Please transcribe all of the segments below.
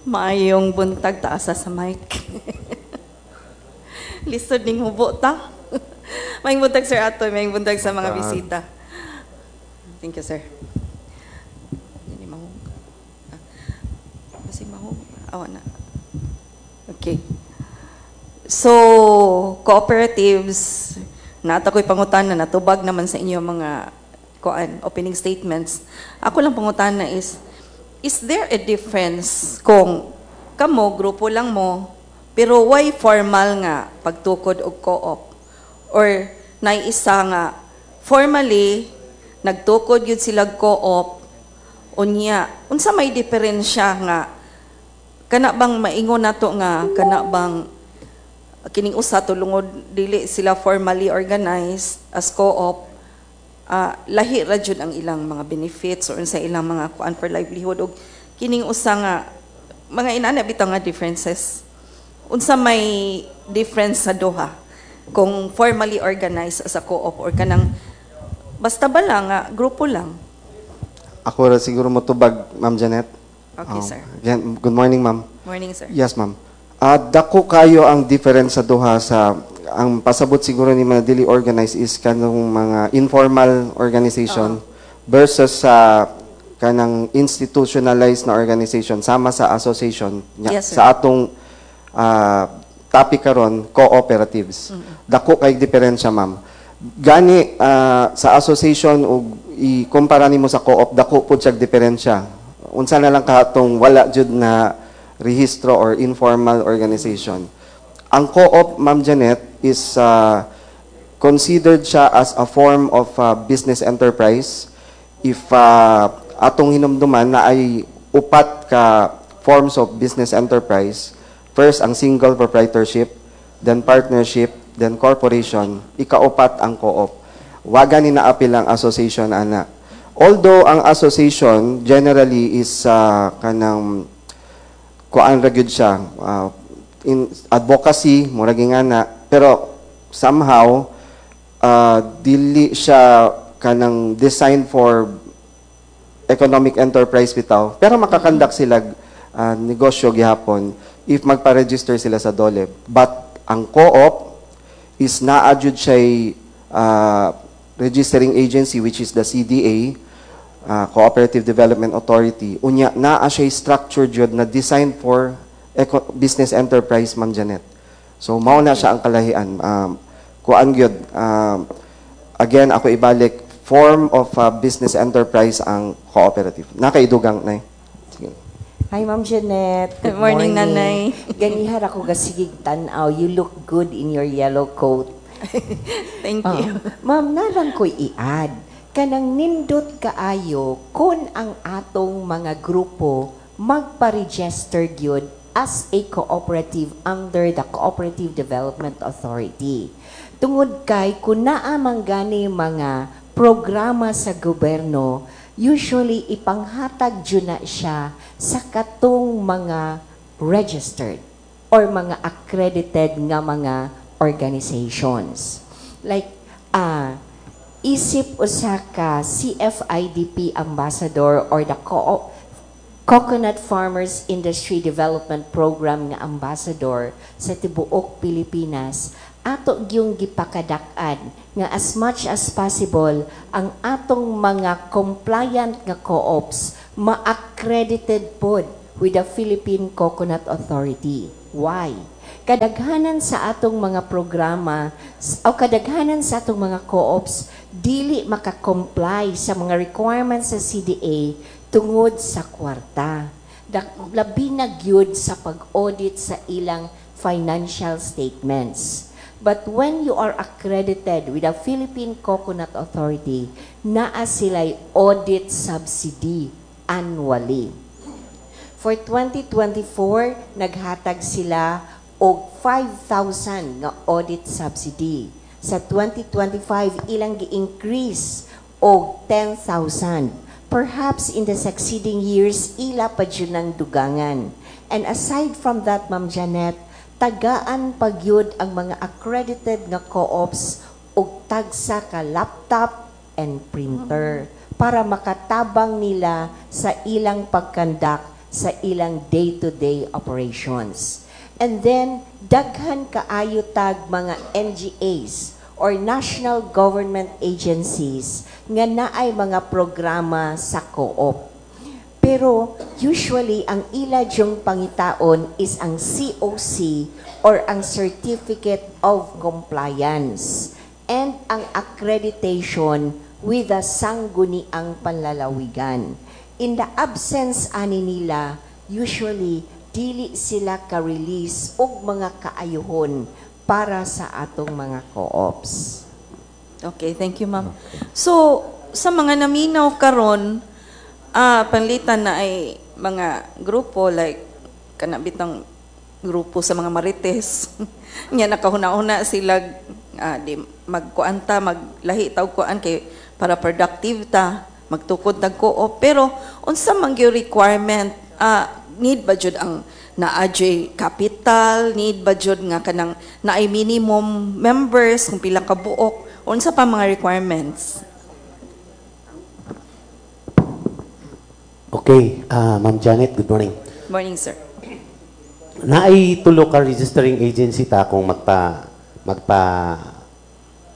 Maayong buntag, taasa sa mic. Lisod ning hubo ta. Maayong buntag, Sir Atoy, maayong buntag sa mga bisita. Thank you, sir. Hindi mahug. Ah, kasi mahug. Awa na. Okay. So, cooperatives, naa ta ko'y pangutana, natubag naman sa inyo mga kuan, opening statements. Ako lang pangutana is there a difference kung kamo, grupo lang mo, pero why formal nga pagtukod og co-op? Or naay isa nga, formally, nagtukod yun sila co-op, unya, unsa may diferensya nga, kana bang maingon nato nga, kana bang kining usa tulungod dili sila formally organized as co-op, lahi ra jud ang ilang mga benefits or sa ilang mga kuan for livelihood, og kining usa nga mga inana bitaw nga differences, unsa may difference sa duha kung formally organized as a co-op or kanang basta ba lang nga grupo lang? Ako ra siguro motubag, Ma'am Janet. Okay, Oh, sir. Again, good morning, ma'am. Morning, sir. Yes, ma'am. Dako kayo ang difference sa duha. Sa ang pasabot siguro ni mga dili organized is kanang mga informal organization versus sa kanang institutionalized na organization sama sa association nya. Yes, sir. Sa atong topic karon, cooperatives. Dako kay diferensya, ma'am. Gani sa association ug ikumpara nimo sa co-op, dako pud siya diferensya. Unsa na lang katong wala jud na rehistro or informal organization. Ang co-op, Ma'am Janet, is considered siya as a form of business enterprise. If atong hinumduman na ay upat ka forms of business enterprise. First, ang single proprietorship, then partnership, then corporation, ikaupat ang co-op. Wa gani naapil ang association ana. Although ang association generally is kanang kuan ra gyud siya in advocacy, murag nga na, pero somehow dili siya kanang designed for economic enterprise bitaw, pero maka-conduct sila negosyo gihapon if magpa-register sila sa DOLE. But ang co-op is naa jud siya registering agency, which is the CDA, Cooperative Development Authority. Unya naa siya structure jud na designed for business enterprise, Ma'am Janet. So mao na siya ang kalahian. Kuan gyud, again, ako ibalik, form of business enterprise ang cooperative. Nakaidugang na. Sige. Hi, Ma'am Jeanette. Good morning, Nanay. Ganihar ako gasigig tan-aw. You look good in your yellow coat. Thank you. Oh. Ma'am, naa lang ko'y i-add. Kanang nindot kaayo kung ang atong mga grupo magpa-register gyud as a cooperative under the Cooperative Development Authority. Tungod kay kung naa man gani mga programa sa gobyerno, usually ipanghatag jud na siya sa katong mga registered or mga accredited nga mga organizations. Like, isip usa ka CFIDP ambassador or the Coconut Farmers Industry Development Program nga ambassador sa tibuok Pilipinas, ato gyung gipakadak-an nga as much as possible ang atong mga compliant nga co-ops ma-accredited pod with the Philippine Coconut Authority. Why? Kadaghanan sa atong mga programa o kadaghanan sa atong mga co-ops dili maka-comply sa mga requirements sa CDA tungod sa kwarta. Labi na gyud sa pag-audit sa ilang financial statements. But when you are accredited with the Philippine Coconut Authority, naa sila'y audit subsidy annually. For 2024, naghatag sila og 5,000 nga audit subsidy. Sa 2025, ilang gi-increase og 10,000. Perhaps in the succeeding years, ila pa jud ng dugangan. And aside from that, Ma'am Janet, tagaan pagyud ang mga accredited nga co-ops og tagsa ka laptop and printer para makatabang nila sa ilang pag-conduct sa ilang day-to-day operations. And then, daghan kaayo tag mga NGAs or national government agencies nga naay mga programa sa co-op. Pero usually, ang ila yung pangitaon is ang COC or ang Certificate of Compliance and ang accreditation with the Sangguniang Panlalawigan. In the absence ani nila, usually dili sila ka-release og mga kaayuhon para sa atong mga co-ops. Okay, thank you, ma'am. So, sa mga naminaw karon, panlitan na ay mga grupo like kana bitang grupo sa mga marites. Nya nakahuna-huna sila, di magkuan ta, maglahi ta og kuan kay para productive ta, magtukod tag co-op. Pero unsa man gyud requirement, need ba jud ang naa jud capital, need ba jud nga kanang naay minimum members kung pila ka buok, unsa pa mga requirements? Okay, Ma'am Janet, good morning. Morning, sir. Naay tulo ka registering agency ta kung magpa magpa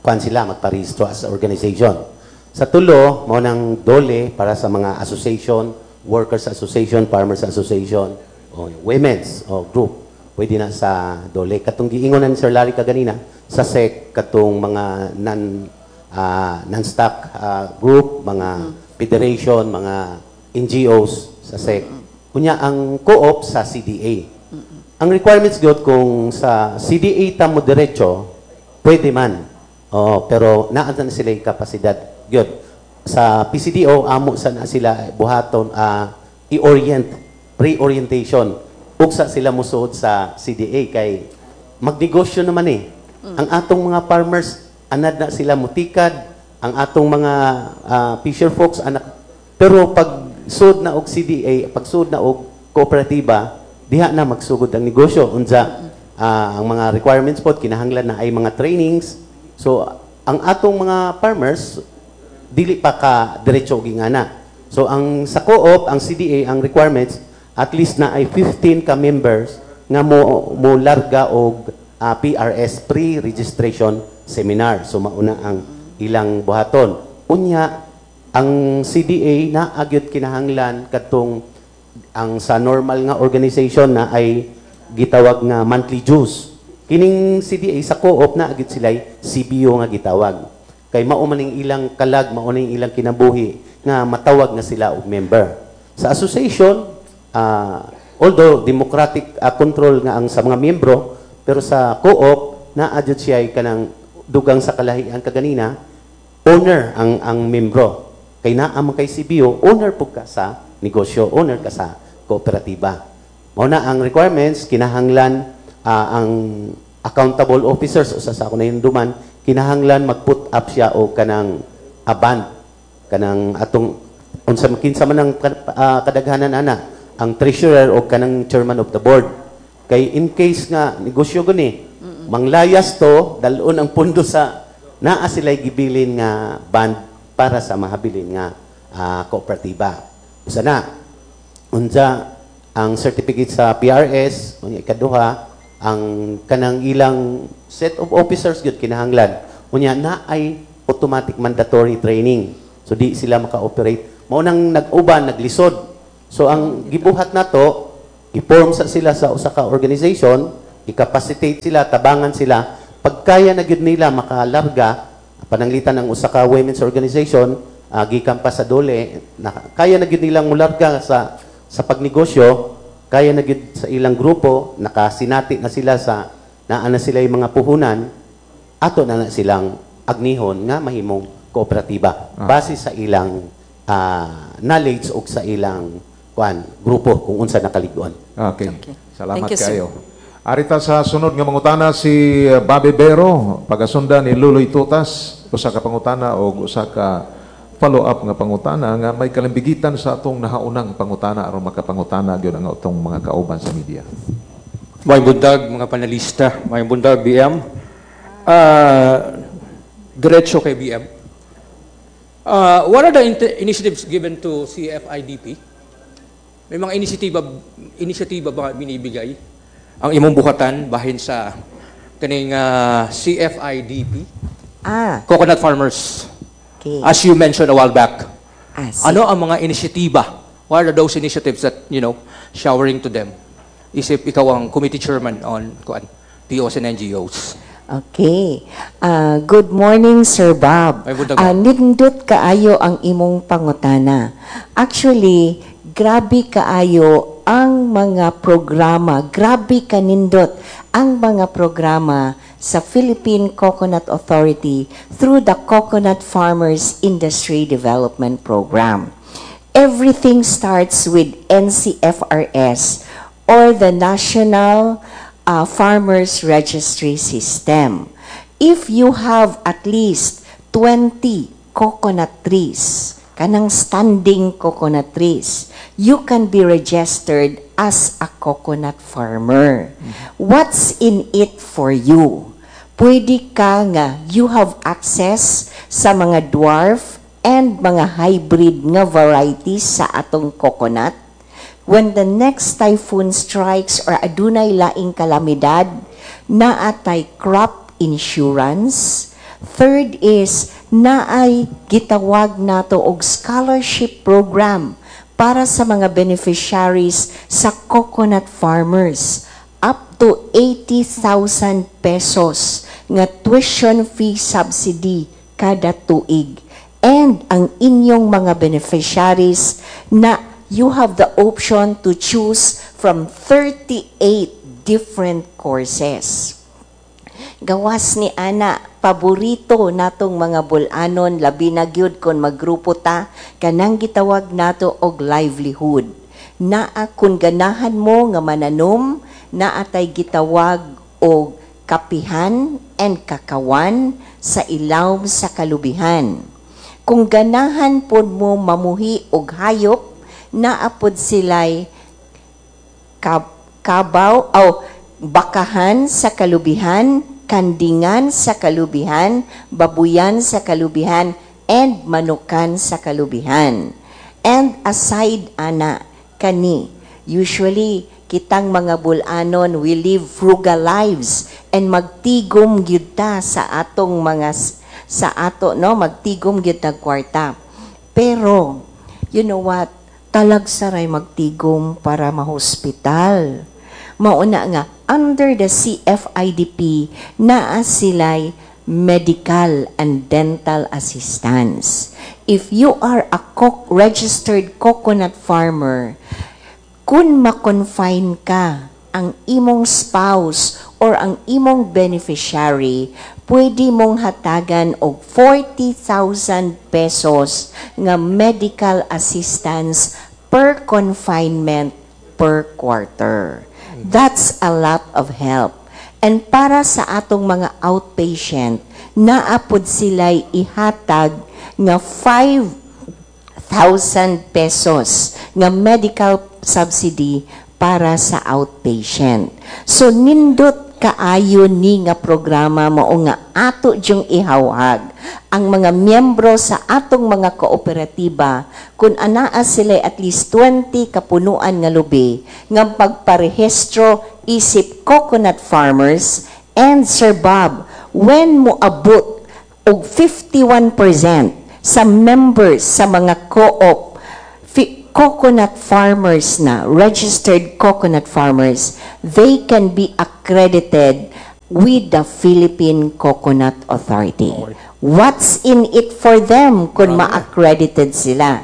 kuan sila, magpa-rehistro as organization. Sa tulo, mao nang DOLE para sa mga association, workers association, farmers association, o women's o group. Pwede na sa DOLE. Katong giingon na ni Sir Larry kaganina, sa SEC, katong mga non-stock group, mga federation, mga NGOs sa SEC. Kunya ang co-op sa CDA. Ang requirements gyud, kung sa CDA ta mo diretso, pwede man. Oo, pero naa na sila yung kapasidad gyud. Sa PCDO, amo sa na sila buhaton, i-orient, pre-orientation. Ugsa sila musuod sa CDA kay magnegosyo naman eh. Ang atong mga farmers, anad na sila mutikad, ang atong mga fisher folks anak, pero pag sud na og CDA, pag sud na og kooperatiba, diha na magsugod ang negosyo. Unsa ang mga requirements pod, kinahanglan na ay mga trainings. So ang atong mga farmers dili pa ka diretso og ingana. So ang sa co-op, ang CDA, ang requirements at least na ay 15 ka members nga mo mo larga og PRS, pre-registration seminar. So mauna ang ilang buhaton. Unya ang CDA na agyot kinahanglan kadtong ang sa normal nga organization na ay gitawag nga monthly dues. Kining CDA sa co-op na agyot sila CBO nga gitawag. Kay mao man ning ilang kalag, mao ning ilang kinabuhi nga matawag nga sila og member. Sa association, although democratic control nga ang sa mga miyembro, pero sa co-op naa jud siya kanang dugang sa kalahian kaganina, owner ang membro. Kay naa man kay CBO, owner pud ka sa negosyo, owner ka sa kooperatiba. Mao na ang requirements, kinahanglan ang accountable officers, usa sa ako na hinumduman, kinahanglan mag-put up siya og kanang bond, kanang atong unsa kinsa man ang kadaghanan ana, ang treasurer o kanang chairman of the board. Kay in case nga negosyo guni, manglayas to, dalon ang pundo sa naa sila gibilin nga bond para sa mahabilin nga kooperatiba. Usa na, unsa ang certificate sa PRS, unya ikaduha, ang kanang ilang set of officers gyud kinahanglan. Unya na ay automatic mandatory training. So di sila maka-operate. Mao nang nag-uban, naglisod. So ang gibuhat nato, i-form sa sila sa usa ka organization, i-capacitate sila, tabangan sila. Pagkaya na gyud nila makalarga, pananglitan ang usa ka women's organization, gikan pa sa DOLE, na, kaya na gyud nilang mularga sa pagnegosyo, kaya na gyud sa ilang grupo, nakasinati na sila sa naa na sila yung mga puhunan, ato na na silang agnihon nga mahimong kooperatiba base sa ilang knowledge o sa ilang kuan grupo kung unsa nakalig-on. Okay. Okay. Salamat Thank you, sir. kayo. Arita sa sunod nga mangutana si Bobby Bero, pagasundan ni Luloy Tutas, usa ka pangutana o usa ka follow-up nga pangutana nga may kalimbigitan sa atong nahaunang pangutana aron makapangutana gyud ang atong mga kauban sa media. Maayong buntag, mga panelista, maayong buntag, BM. Diretso kay BM. What are the initiatives given to CFIDP? May mga inisiatiba ba binibigay ang imong buhatan bahin sa kaning CFIDP, coconut farmers? Okay. As you mentioned a while back. Sige. Ano ang mga inisiatiba? What are those initiatives that showering to them? Isip ikaw ang committee chairman on kuan, POs and NGOs. Okay. Good morning, Sir Bob. Ay, buntag. Nindot kaayo ang imong pangutana. Actually, grabe kaayo ang mga programa, grabe kanindot ang mga programa sa Philippine Coconut Authority through the Coconut Farmers Industry Development Program. Everything starts with NCFRS or the National Farmers Registry System. If you have at least 20 coconut trees, kanang standing coconut trees, you can be registered as a coconut farmer. What's in it for you? Pwede ka nga, you have access sa mga dwarf and mga hybrid nga varieties sa atong coconut. When the next typhoon strikes or adunay laing kalamidad, naatay crop insurance. Third is, naay gitawag nato og scholarship program para sa mga beneficiaries sa coconut farmers. Up to 80,000 pesos nga tuition fee subsidy kada tuig. And ang inyong mga beneficiaries na you have the option to choose from 38 different courses. Gawas ni ana, paborito natong mga bulanon, labi na gyud kon maggrupo ta, kanang gitawag nato og livelihood. Naa kun ganahan mo nga mananom, naa tay gitawag og kapihan and kakawan sa ilawom sa kalubihan. Kung ganahan pod mo mamuhi og hayop, naa pod sila'y kabaw o bakahan sa kalubihan, kandingan sa kalubihan, babuyan sa kalubihan, and manukan sa kalubihan. And aside ana, kani, usually kitang mga bulanon, we live frugal lives and magtigom gyud ta sa atong mga sa ato, no, magtigom gyud tag kwarta. Pero you know what, talagsa ray magtigom para mahospital. Mauna nga under the CFIDP naa sila'y medical and dental assistance. If you are a registered coconut farmer, kung ma-confine ka, ang imong spouse or ang imong beneficiary, pwede mong hatagan og 40,000 pesos nga medical assistance per confinement per quarter. That's a lot of help. And para sa atong mga outpatient, naa pod sila'y ihatag nga 5,000 pesos nga medical subsidy para sa outpatient. So nindot kaayo ni nga programa, mao nga ato jung ihawhag ang mga miyembro sa atong mga kooperatiba kung anaa sila at least 20 kapunuan nga lubi nga pagparehistro isip coconut farmers. And Sir Bob, when moabot og 51% sa members sa mga co-op coconut farmers na, registered coconut farmers, they can be accredited with the Philippine Coconut Authority. What's in it for them kung ma-accredited sila?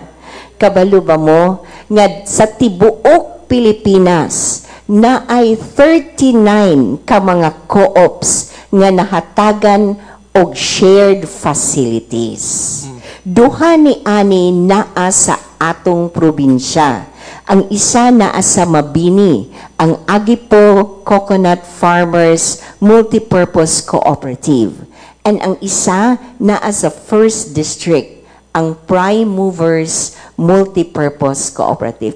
Kabalo ba mo nga sa tibuok Pilipinas na ay 39 ka mga co-ops nga nahatagan og shared facilities? Duha ni ani naa sa atong probinsya. Ang isa naa sa Mabini, ang Aguipo Coconut Farmers Multipurpose Cooperative. And ang isa naa sa First District, ang Prime Movers Multipurpose Cooperative.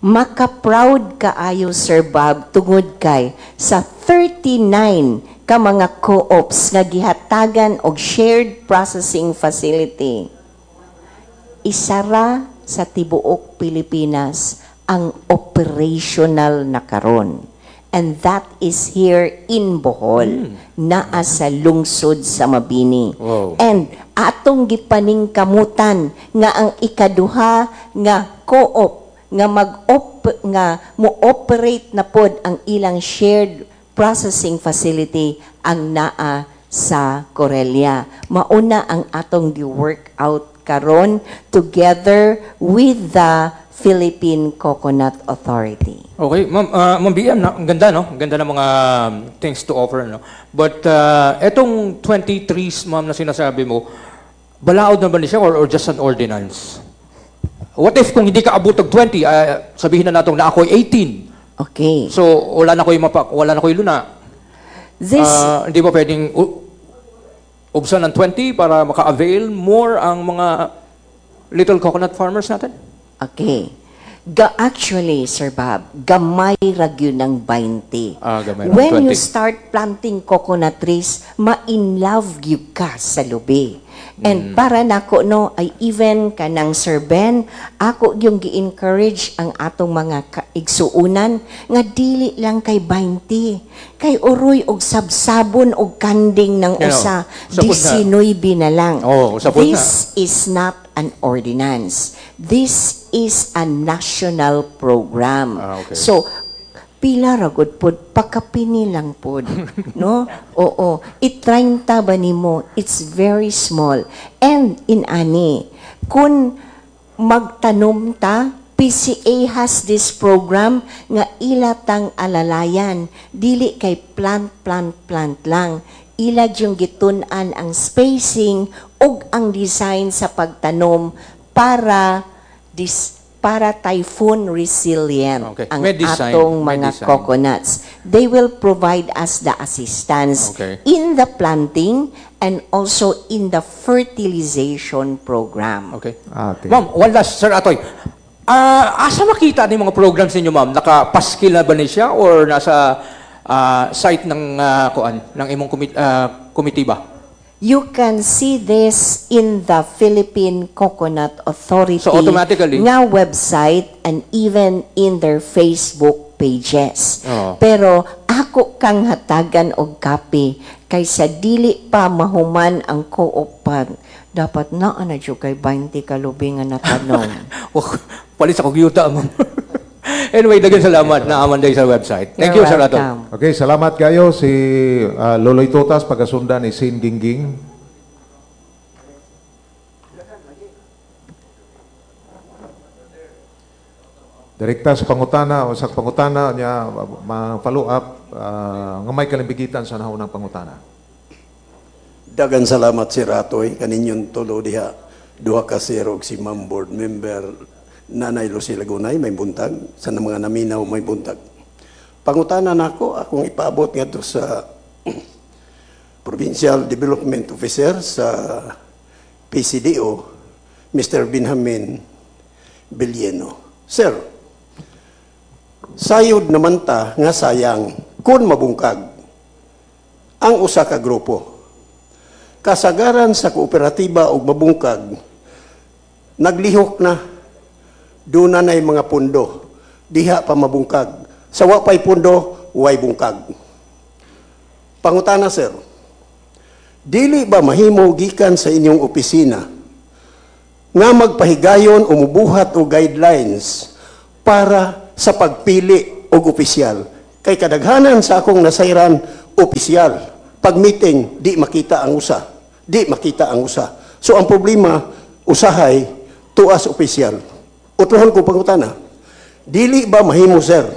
Maka-proud kaayo, Sir Bob, tungod kay sa 39 ka mga co-ops nga gihatagan og shared processing facility, isara sa tibuok Pilipinas ang operational na karon. And that is here in Bohol, naa sa lungsod sa Mabini. And atong gipaningkamutan nga ang ikaduha nga co-op nga mag nga mo-operate na pod ang ilang shared processing facility ang naa sa Corella. Mauna ang atong gi-work out karon together with the Philippine Coconut Authority. Okay, ma'am, Ma'am BM, na, ang ganda, no? Ang ganda ng mga things to offer, no? But etong 20 trees, ma'am, na sinasabi mo, balaod na ba ni siya or just an ordinance? What if kung hindi ka abot og 20, sabihin na natong na ako'y 18. So, wala na ko'y luna. This Hindi ba pwedeng ubsan ng 20 para maka-avail more ang mga little coconut farmers natin? Okay. Actually, Sir Bob, gamay ra gyud ng 20. Ah, gamay ra, When you 20. start planting coconut trees, ma-in love gyud ka sa lubi. And para nako, no, ay even kanang Sir Ben, ako yung gi-encourage ang atong mga igsuunan nga dili lang kay 20. Kay uroy og sabsabon og kanding ng usa, Sapod na. 19 na lang. Oh, sapod na. This is not an ordinance. This is a national program. So, pila ra gud pod, pakapini lang pod, no? Oo, i-30 ba nimo? It's very small. And in ani, kung magtanom ta, PCA has this program nga ila tang alalayan. Dili kay plant, plant, plant lang. Ila yung gitun-an ang spacing ug ang design sa pagtanom para typhoon resilient ang May design. atong May mga design. coconuts. They will provide us the assistance in the planting and also in the fertilization program. Okay. Ma'am, one last, Sir Atoy. Asa makita ni mga programs ninyo, ma'am? Nakapaskil na ba ni siya or nasa site ng kuan ng imong committee ba? You can see this in the Philippine Coconut Authority So automatically- nga website and even in their Facebook pages. Pero ako kang hatagan og copy kaysa dili pa mahuman ang co-op pa. Dapat naa na jud kay 20 ka lubi nga natanom. Oh, palit sa yuta, ma'am. Anyway, daghang salamat na aman sa website. Thank You're you, Sir Atoy. welcome. Okay, salamat kayo si Loloy Tutas, pagasundan ni Sin Gingging. Direkta sa pangutana o sa pangutana niya ma-follow up nga may kalimbigitan sa naunang pangutana. Dagan salamat, Sir Atoy, kaninyong tulo diha, duha ka sir og si Ma'am Board Member Nanay Lucy Lagunay, may buntag sa mga naminaw, may buntag. Pangutana nako akong ipaabot ngadto sa Provincial Development Officer sa PCDO, Mr. Benjamin Villeno. Sir, sayod naman ta nga sayang kung mabungkag ang usa ka grupo. Kasagaran sa kooperatiba og mabungkag, naglihok na, doon na na'y mga pundo, diha pa mabungkag. Sa wa pa'y pundo, way bungkag. Pangutana, sir, dili ba mahimo gikan sa inyong opisina nga magpahigayon o mubuhat og guidelines para sa pagpili og opisyal? Kay kadaghanan sa akong nasayran, opisyal. Pag meeting, di makita ang usa. Di makita ang usa. So ang problema, usahay, tuas opisyal. Utrohon ko pangutana, dili ba mahimo, sir,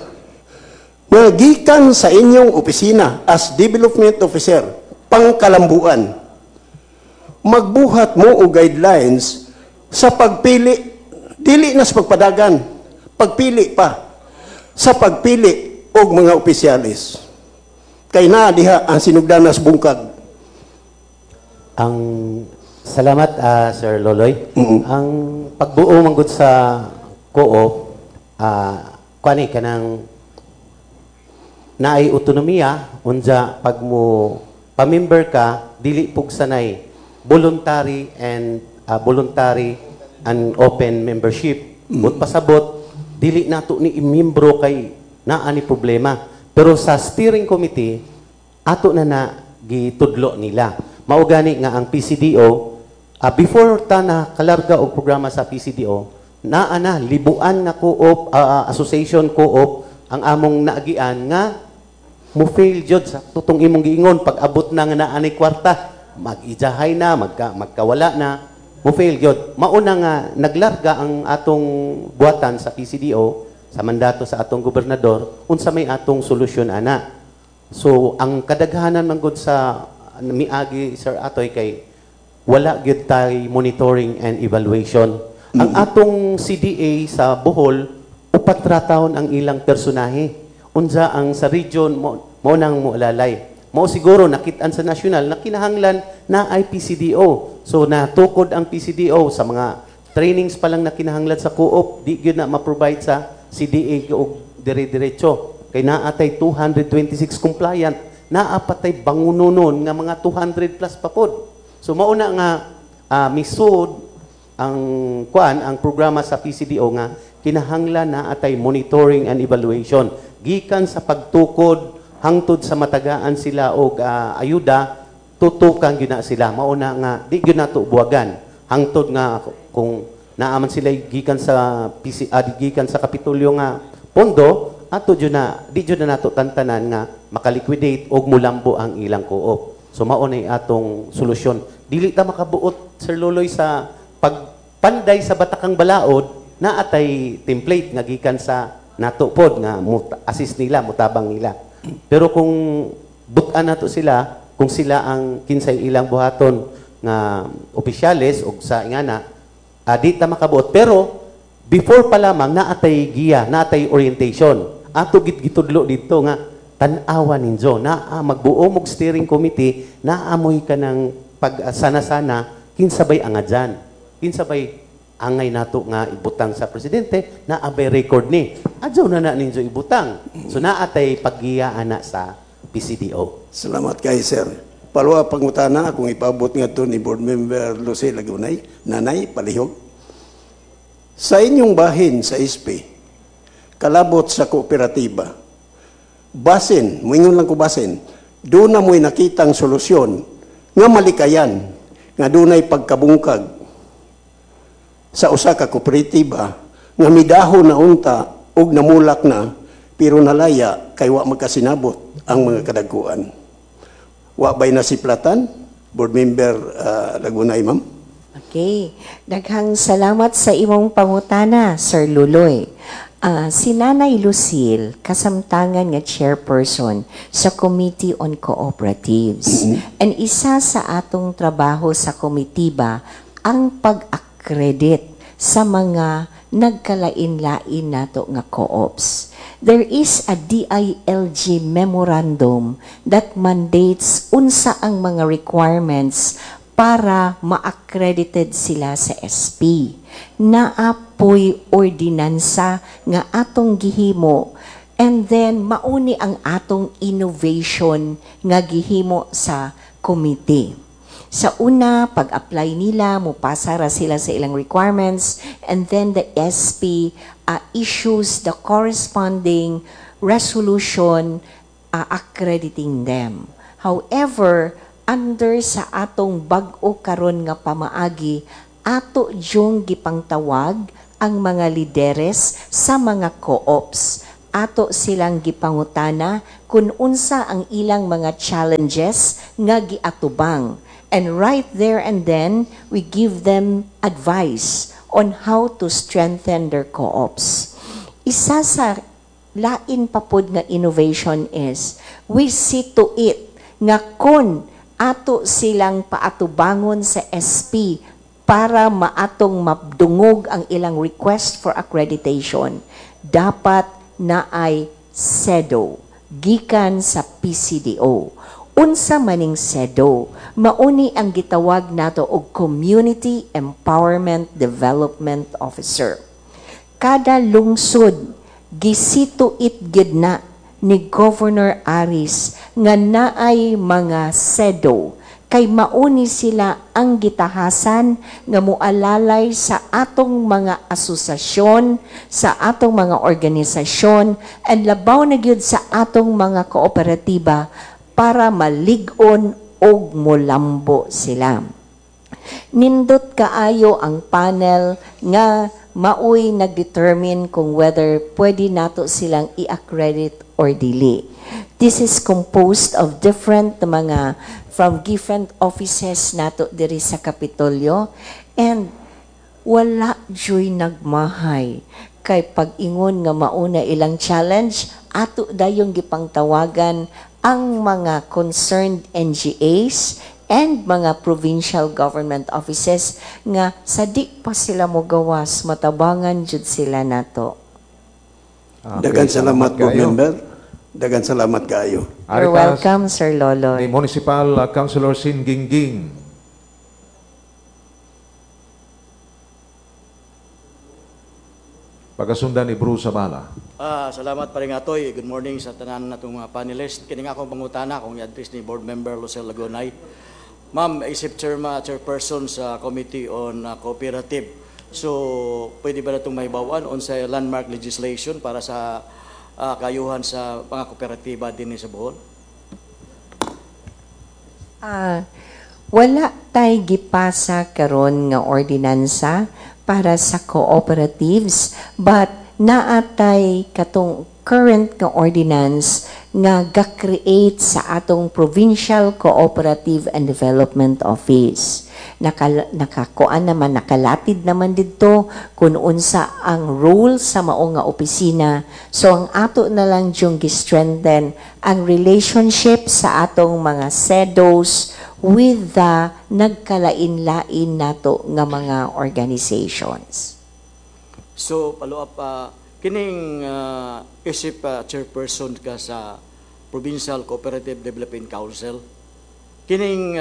nga gikan sa inyong opisina as development officer, pangkalambuan, magbuhat mo og guidelines sa pagpili, dili na sa pagpadagan, pagpili pa, sa pagpili og mga opisyalis? Kay naa diha ang sinugdanas bungkag. Ang salamat, Sir Loloy. Ang pagbuo manggod sa co-op, kuani kanang naay autonomiya, unja pag mo pamember ka, dili pugsanay voluntary and open membership. But pasabot Dili nato ni imiyembro kay naa ni problema. Pero sa steering committee, ato na na gitudlo nila. Mao gani nga ang PCDO, before ta na kalarga og programa sa PCDO, naa na libuan nga co-op, association co-op ang among naagian nga mo fail jud sa tutong imong giingon. Pag abot na nga naa ni kwarta, mag-ijahay na, magkawala na, mo fail gyud. Mauna nga naglarga ang atong buhatan sa PCDO sa mandato sa atong gobernador unsa may atong solusyon ana. So ang kadaghanan man gud sa miagi, Sir Atoy, kay wala gyud tay monitoring and evaluation. Ang atong CDA sa Bohol, 4 ra taon ang ilang personahe. Unsa ang sa region mo, mo nang moalalay. Mao siguro nakit-an sa national na kinahanglan na ay PCDO. So natukod ang PCDO sa mga trainings pa lang na kinahanglan sa co-op, di gyud na ma-provide sa CDA og dire-diretso. Kay naa tay 226 compliant, naa pa tay bangunonon nga mga 200 plus pa pod. So mauna nga misud ang kuan, ang programa sa PCDO nga kinahanglan na atay monitoring and evaluation gikan sa pagtukod hangtod sa matagaan sila og ayuda, tutukan gyud na sila. Mauna nga di gyud nato buwagan hangtod nga kung naaman sila gikan sa PC, gikan sa Kapitolyo nga pondo, ato jud na di jud na nato tantanan nga makaliquidate og mulambo ang ilang co-op. So mao na atong solusyon. Dili ta makabuot, Sir Loloy, sa pagpanday sa batakang balaod. Naatay template nga gikan sa nato pod nga assist nila, mutabang nila. Pero kung butan nato sila, kung sila ang kinsay ilang buhaton nga opisyales og sa ingana, di ta makabuot. Pero before pa lamang naatay giya, naatay orientation. Ato gid gitudlo didto nga tan-awa ninyo, naa magbuo mog steering committee, naamoy ka ng pag sana-sana kinsa bay angadyan, kinsa bay angay nato nga ibutang sa presidente, naa bay record ni adyaw na na ninyo ibutang. So naatay paggiya ana sa PCDO. Salamat kay sir. Palwa pangutana akong ipabot ngadto ni Board Member Lucy Lagunay, Nanay Palihog. Sa inyong bahin sa SP, kalabot sa kooperatiba, basin, muingon lang ko basin, doon na mo'y nakitang solusyon nga malikayan, nga dunay pagkabungkag sa usa ka kooperatiba nga midahon na unta og namulak na pero nalaya kay wa magkasinabot ang mga kadagkuan. Wa bay nasiplatan, Board Member Lagunay, ma'am? Okay. Daghang salamat sa imong pangutana, Sir Luloy. Si Nanay Lucille, kasamtangan nga chairperson sa Committee on Cooperatives. And isa sa atong trabaho sa komitiba ang pag-accredit sa mga nagkalain-lain nato nga co-ops. There is a DILG memorandum that mandates unsa ang mga requirements para ma-accredited sila sa SP. Naapoy ordinansa nga atong gihimo and then mauni ang atong innovation nga gihimo sa committee. Sa una, pag-apply nila, mupasa ra sila sa ilang requirements, and then the SP issues the corresponding resolution accrediting them. However, under sa atong bag-o karon nga pamaagi, ato yung gipangtawag ang mga lideres sa mga co-ops. Ato silang gipangutana kung unsa ang ilang mga challenges nga giatubang. And right there and then, we give them advice on how to strengthen their co-ops. Isa sa lain pa pod nga innovation is, we see to it nga kon ato silang paatubangon sa SP para maatong mabdungog ang ilang request for accreditation, dapat na ay CEDO, gikan sa PCDO. Unsa maning CEDO? Mauni ang gitawag nato og Community Empowerment Development Officer. Kada lungsod gisito it gid na ni Governor Aris nga naay mga CEDO. Kay mauni sila ang gitahasan nga mualalay sa atong mga asosasyon, sa atong mga organisasyon, and labaw na gyud sa atong mga kooperatiba para malig-on og mulambo sila. Nindot kaayo ang panel nga maoy nagdetermine kung whether pwede nato silang i-accredit or dili. This is composed of different mga from different offices nato diri sa Kapitolyo, and wala juy nagmahay kay pag-ingon nga mauna ilang challenge, ato dayong gipangtawagan ang mga concerned NGAs and mga provincial government offices nga sa di pa sila mogawas, matabangan jud sila nato. Okay, Dagan salamat, board kaayo. Member. Dagan salamat kaayo. You're Ari ta welcome, Sir ni Loloy. Municipal Councilor Sin Gingging. Pagasundan ni Bruce Zabala. Salamat pa rin atoy. Good morning sa tanan natong mga panelist. Kini nga akong pangutana kung i-address ni Board Member Lucel Lagunay. Ma'am, isip chairperson sa Committee on Cooperative. So, pwede ba natong mahibawan unsa landmark legislation para sa kayuhan sa mga kooperatiba din sa Bohol? Wala tay gipasa karon nga ordinansa para sa cooperatives, but naatay katong current nga ordinance nga ga-create sa atong Provincial Cooperative and Development Office. Nakakuan naman, nakalatid naman didto kung unsa ang role sa mao nga opisina. So ang ato na lang yung gi-strengthen ang relationship sa atong mga CEDOs with the nagkalain-lain nato nga mga organizations. So, follow up, kining isip chairperson ka sa Provincial Cooperative Development Council, kining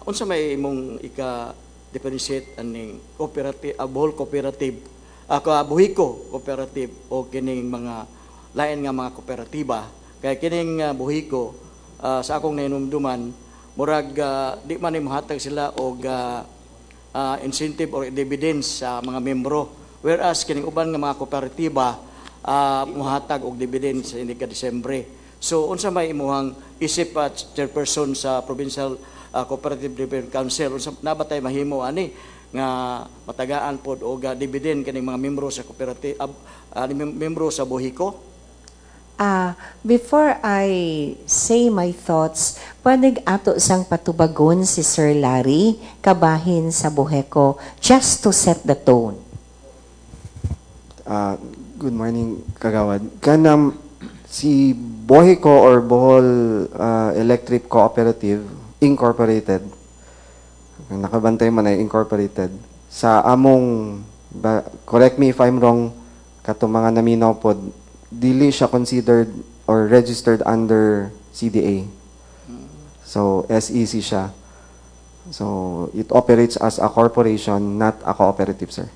unsa may imong ika-differentiate aning cooperative, Bohol Cooperative, ka Boheco Cooperative o kining mga lain nga mga kooperatiba? Kay kining Boheco, sa akong nahinumduman, murag di man ni mohatag sila og incentive or dividends sa mga membro, whereas kining uban nga mga kooperatiba mohatag og dividends sa hindi ka Disyembre. So unsa may imuhang isip chairperson sa Provincial Cooperative Development Council, unsa na ba tay mahimo ani nga matagaan pod og dividend kining mga membro sa cooperative, membro sa Boheco? Before I say my thoughts, pwede ato sang patubagon si Sir Larry kabahin sa Boheco just to set the tone. Good morning, Kagawad. Kanang si Boheco or Bohol Electric Cooperative Incorporated, nakabantay man ay incorporated, sa among, ba, correct me if I'm wrong, katong mga naminaw pod, dili siya considered or registered under CDA. So, SEC siya. So, it operates as a corporation, not a cooperative, sir.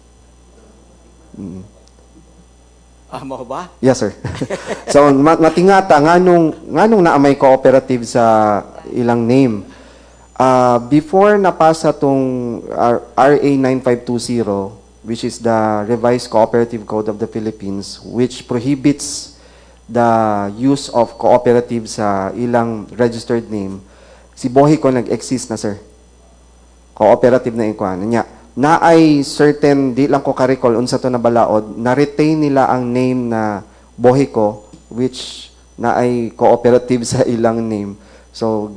Mao ba? Yes, sir. So, matingata, nganong naa may cooperative sa ilang name. Before napasa tong RA 9520, which is the Revised Cooperative Code of the Philippines, which prohibits the use of cooperative sa ilang registered name, si Boheco nag-exist na, sir. Cooperative na ikuan. Nya, na ay certain, di lang ko ka-recall unsa to na balaod, na-retain nila ang name na Boheco, which na ay cooperative sa ilang name. So,